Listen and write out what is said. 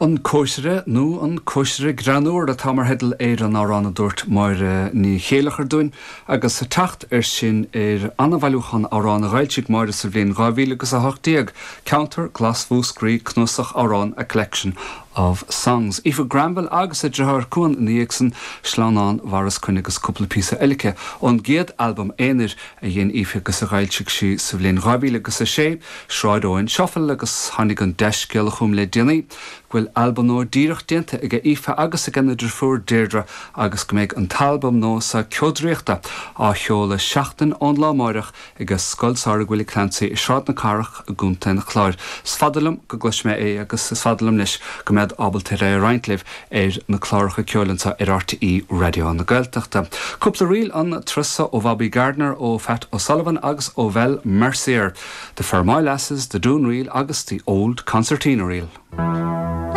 An Cóisire nó An Cóisire Greannmhar atá mar theideal ar an amhrán a dúirt Máire Ní Chéileachair dúinn agus teacht air sin ar an-bhailiúchán amhrán a dh'fhoilsigh Máire sa bhliain 2018, Ceantar Glas Mhúscraí, Cnuasach Amhrán, A Collection of Songs. Aoife Granville agus a deartháir Cuan ina dhiaidh san, Sleamhnán Mharas Coinn agus cúpla píosa eile aici ón gcéad albam aonair a dhein Aoife agus a dh'fhoilsigh sí sa bhliain 2006, Sráid Eoin Shuffle agus tháinig an dea-scéala chugam le déanaí go bhfuil albam nua díreach déanta aige Aoife agus ag a deirfiúr Deirdre agus go mbeidh an t-albam nua so Ceo Draíochta á sheoladh seachtain ón lá amáireach ag Scoil Samhraidh Willie Clancy i Sráid na Cathrach i gContae an Chláir. Is fada liom go gcloisfidh mé é agus is fada liom leis go mbead ábalta ar é a roinnt libh ar na cláracha ceoil anseo ar RTÉ Raidió na Gaeltachta. Cúpla ríl an turas so ó Bhobby Gardiner, ó Phat O'Sullivan agus ó Val Mercier, The Fermoy Lasses, The Doon Reel agus The Old Concertina Reel.